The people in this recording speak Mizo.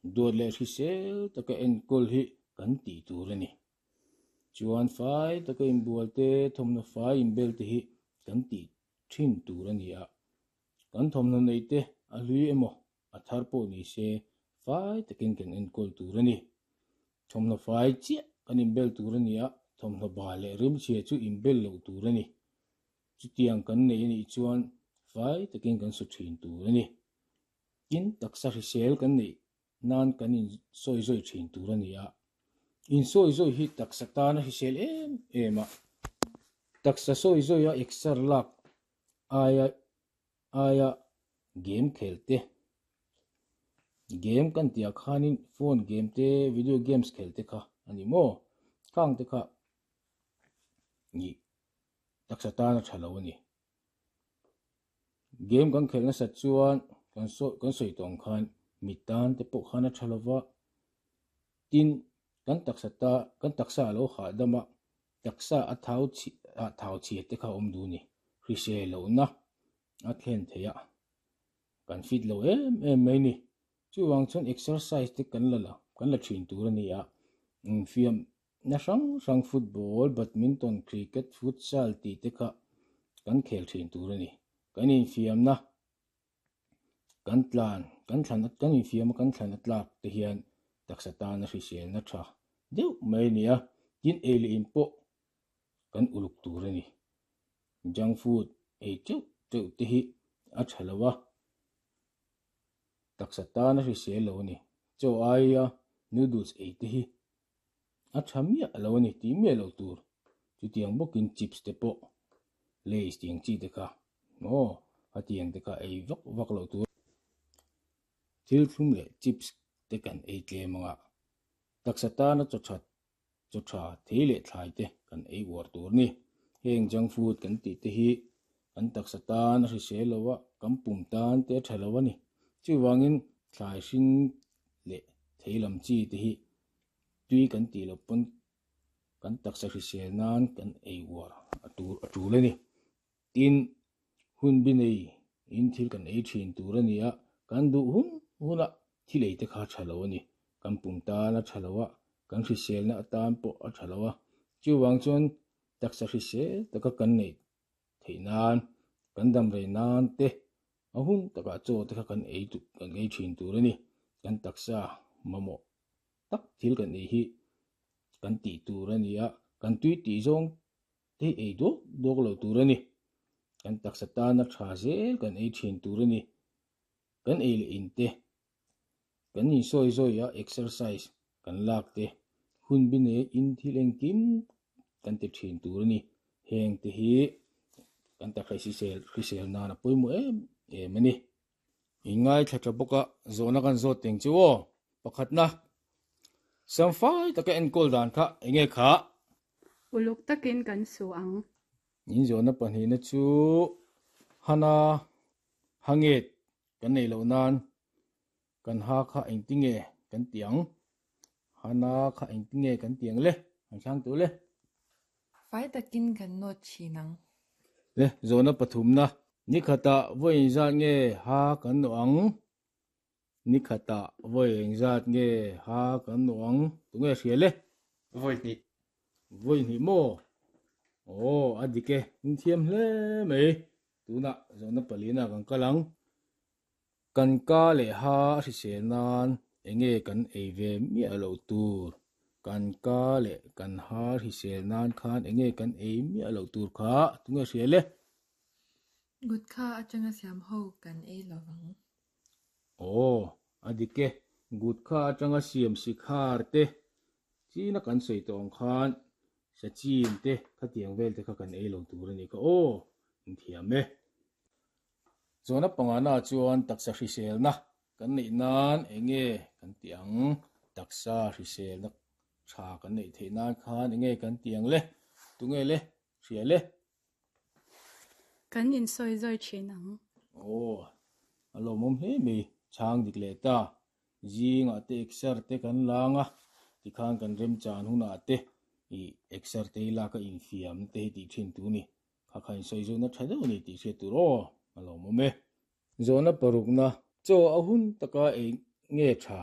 Duat leh hrisel taka enkawl hi kan tih tur a ni. Chuan fai taka inbual te, thawmhnaw fai inbel te hi kan tih thin tur a ni a. Kan thawmhnaw neih te a hlui emaw a thar pawh ni se fai takin kan enkawl tur a ni. Thawmhnaw fai chiah kan inbel tur a ni a, thawmhnaw bal leh rimchhia chu inbel loh tur a ni. Chutiang kan nei a nih chuan fai takin kan su thin tur a ni. Tin, taksa hrisel kan neih nan kan insawi zawi thin tur a ni a. Insawi zawi hi taksa tana hrisel em em a. Taksa sawi zawi a exer lak aia aia game khel te, game kan tih ah khanin phone game te, video games khel te kha a ni maw? Khang te kha ih taksa tana tha lo a ni. Game kan khelh nasat chuan kan sawi kan sawi tawh ang khan mi tan te pawh khan a tha lo va, tin kan taksa ta kan taksa a lo hahdam a, taksa a thau chhi ah thau chhia te kha a awm duh a ni. Hrisel lohna a thlen theih a, kan fit lo em em mai a ni. Chuvang chuan exercise te kan la la kan la thin tur a ni a, infiam Na hrang hrang football, badminton, cricket, futsal tih te kha kan khel thin tur a ni. Kan infiamna kan tlan, kan thlan kan infiam a kan thlan a tlak te hian taksa tana hriselna tha deuh mai a ni a, tin ei leh in pawh kan uluk tur a ni. Junk food ei teuh teuh te hi a tha lo a, taksa tana hrisel lo a ni. Chaw aia noodles ei te hi A tha miah lo a ni tih miah loh tur. Chutiang bawkin chips te pawh Lays tih ang chi te kha aw a tiang te kha ei vak vak loh tur. Thil thlum leh chips te kan ei tlem anga taksa tana chaw that chaw tha thei leh thlai te kan ei uar tur a ni. Heng junk food kan tih te hi kan taksa tan a hrisel lo a, kan pum tan te a tha lo a ni. Chuvangin thlai hring leh thei lam chi te hi tui kan tih loh pawn kan taksa hrisel nan kan ei uar a tur a tul a ni. Tin, hun bi nei in thil kan ei thin tur a ni a, kan duh hun huna thil ei te kha a tha lo a ni. Kan pum tan a tha lo a, kan hriselna atan pawh a tha lo a. Chuvang chuan taksa hrisel taka kan neih theih nan, kan dam rei nan te a hun takah chaw te kha kan ei kan ei thin tur a ni. Kan taksa mamawh tak thil kan ei hi kan tih tur a ni a, kan tui tih zawng te hi ei duak duak lo tur a ni. Kan taksa tana tha zel kan ei thin tur a ni. Kan ei leh in te, kan insawi zawi a exercise kan lak te, hun bi nei in thil engkim kan ti thin tur a ni. Heng te hi kan taksa hrisel hrisel nan a pawimawh em em a ni. I ngaithla tha bawk a, zawhna kan zawt teng chu aw. Pakhatna, Samfai taka enkawl dan kha eng nge kha? Uluk takin kan su ang. In zawhna pahnihna chu Hana Hanget kan neih loh nan kan ha kha engtinge kan ti ang? Hana kha engtinge kan ti ang le? An chhang tur le. Fai takin kan nawt thin ang. Le, zawhna pathumna. Ni khatah vawi engzat nge ha kan nawh ang? Ni khatah vawi engzat nge ha kan nawh ang? Tunge hria le? Vawi hnih. Vawi hnih maw? Aw, a dik e. In thiam hle mai. Tunah zawhna palina kan kal ang. Kan ka leh ha a hrisel nan enge kan ei ve miah loh tur? Kan ka leh kan ha hrisel nan khan enge kan ei miah loh tur kha tunge hria le? Gutkha atanga siam ho kan ei lo vang. Aw, a dik e. Gutkha atanga siam sikhar te, china kan sawi tawh ang khan sachin te khatiang vel te kha kan ei lo tur a nih kha aw, inthiam e. Zawhna pangana chuan taksa hriselna kan neih nan eng nge kan tih ang? Taksa hriselna tha kan neih theih nan khan eng nge kan tih ang le? Tunge le? Hria le? Kan insawi zawi thin ang. Aw, a lawmawm hle mai. Chhang dik leh ta. Zingah te exer te kan lang a, tikhan kan remchan hunah te ih exer te hi lak a infiam te hi tih thin tur a ni. Kha kha insawi zawhna tha deuh a ni tih hriat tur aw, a lawmawm e. Zawhna parukna, Chaw a hun taka ei nge tha?